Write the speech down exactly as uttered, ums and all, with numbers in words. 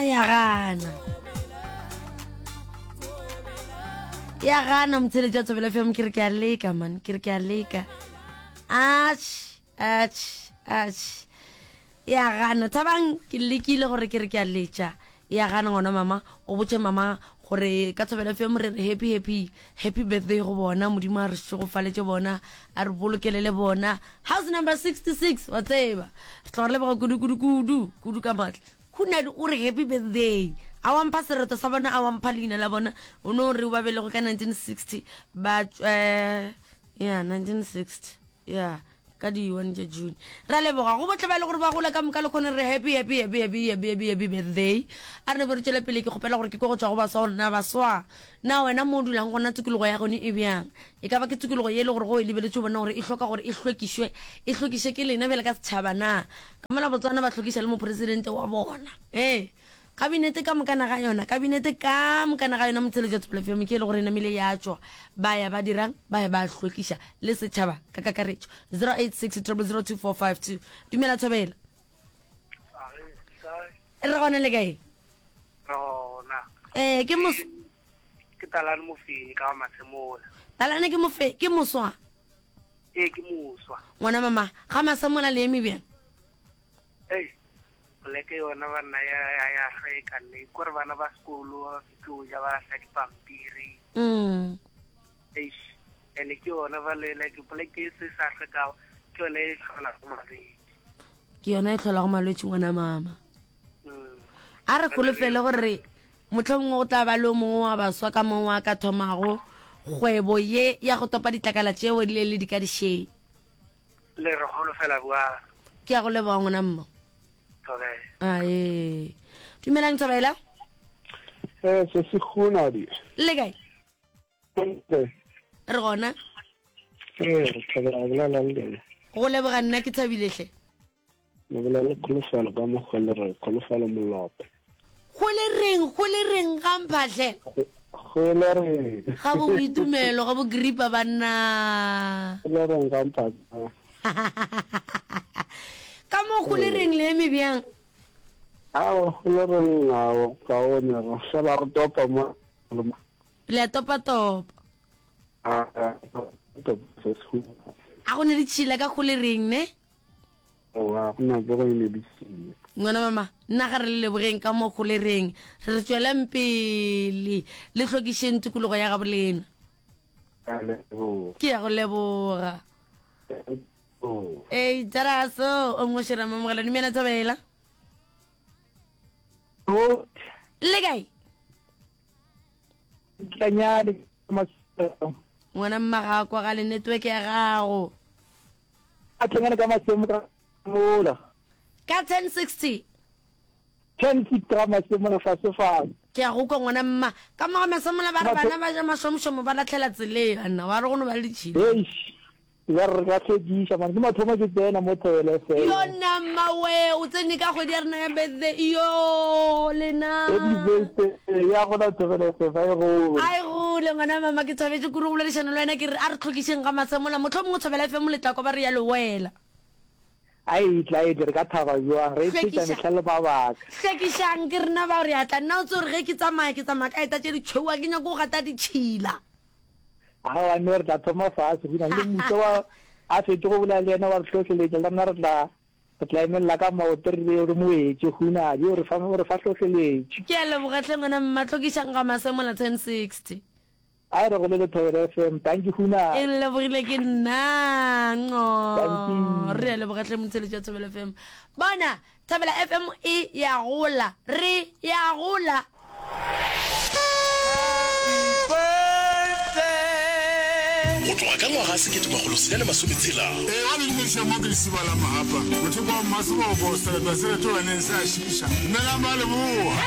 ya gana ya gana motheletši wa Thobela F M ke re ke a leka man ke re ke a leka atšh atšh atšh ya gana thabang ke lekile gore ke re ke a letša ya gana ngwana mama o botše mama gore ka Thobela F M re re happy happy happy birthday go bona modimo a re šegofaletše bona a re bolokelele bona house number sixty-six wa tseba re tloga re leboga kudu kudu kudu kudu ka maatla Hunadi o re happy birthday a wa mpha sereto sa bona a wa mpha leina la bona o no re ba belego ka nineteen sixty ba eh ya nineteen sixty ya ka di one tša June ra leboga go botle ba e le gore ba gola ka moka le kgone re happy happy happy happy happy happy happy birthday a re ne bo re tšwele pele ke kgopela gore ke kwe go tšwa go baswa gore na baswa na wena mo o dulang gona tikologo ya gone e bjang e ka ba ke tikologo ye e le gore go e lebeletše o bona gore e hloka gore e hlwekišwe e hlwekiše ke lena bjale ka setšhaba na ka mola Botswana ba hlwekiša le mopresidente wa bona ee kabinete ka moka naga yona kabinete ka moka naga yona motheletša Thobela F M ke e le gore e namile ya tšwa ba ya ba dirang ba ya ba hlwekiša le setšhaba ka kakaretšo zero eight six triple zero two four five two dumela Thobela re gona le kae Rona. Eh, ke mos Ke Talane Mofenyi ka Masemola. Talane ke mofe ke moswa Ee, ke moswa. ngwana mama ga Masemola le eme bjang Ei, poleke yona banna ya ya ya hlweka nne. Kore bana ba sekolo ba fitlo ja ba lahla dipampiri. mm. Eish, ene ke yona ba le like poleke e se sa hlwekago ke yona e hlolago malwetši. Ke yona e hlolago malwetši ngwana mama. Mm. A re kholofele gore mohlomongwe go tla ba le o mongwe wa baswa ka mongwe wa ka thomago kgwebo ye ya go topa ditlakala tšeo di le le di ka dišeng. Le re holofela bua. Ke ya go leboga ngwana mma. Thobela. Ae. Dumelang Thobela. Eh, se se gona di. Le kae? Re Re gona. Eh, re thabela go bolela le lena. Go leboga nna ke thabile hle. Le bolela le kholofelo ka mokgwa le re kholofelo molope. Go le reng, go le reng ga mphahle? Go le reng. Ga bo boitumelo, ga bo gripa banna. Go le reng ga mphahle. Ka mo go le reng le eme bjang? Ao, go le reng ao, kaone re fela re topa mo. Le a topa topa. A topa se se. A go ne ditšhila ka go le reng ne? Oa, go na go ne ditšhila. Ngwana mama, nna ga re le lebogeng ka mo go le reng. Re re tswelang pele le hlwekišeng tikologo ya gabo lena. Ke a leboga. Ke ya go leboga. Ei, Taraso, o mongwe šera mamogela dumela Thobela. O Le kae? Tlanyane masemo. Ngwana mma ga a kwagale network ya gago. A tlanyane ka masemo ka mola. Ka ten sixty. Ten sixty ga masemo fase fase. Ke a go kwa ngwana mma. Ka mo ga masemola ba re bana ba ja mašomšomo ba latlhela tseleng banna wa re go no ba le ditšhila. Eish. Ya re ka hlwekiša man ke mathomo ke tsena mo Thobela F M. Yo nna mma we o tsene ka kgwedi ya rena ya birthday yo lena. Happy birthday ya gona Thobela F M a e gole. A e gole ngwana mama ke thabetše kudu go boledišana le wena ke re a re hlwekišeng ga masemola mohlomongwe Thobela F M le tla kwa ba re ya le wela. A e tla e tle re ka thaba jwang re e thetša mehla le mabaka. Hlwekišang ke rena bao re a tla nna o tse gore ge ke tsamaya ke tsamaya ka eta tše ditšhweu a ke nyako go gata ditšhila. Aowa no re tla thoma fase go na le mmuso wa a fetše go bolela le yena wa re hlohleletša le rena re tla re tla emelela ka maoto re be re mo etše hunadi o re fa o re fa hlohleletšo. Ke a leboga hle ngwana mma hlwekišang ga Masemola ten sixty. A re go le le Thobela F M thank you hunadi. E lebogile ke nna nco Thank you. Re a leboga hle motheletši wa Thobela F M. Bona Thobela F M e ya gola re ya gola. Go tloga ka ngwaga sekete makgolo senyane masometshela. Ee, a le dumediša mo ke lesiba la Mahapa, mothopo wa Mmaseboko, sereto se retolaneng se a šiša. Dumelang ba Leboa.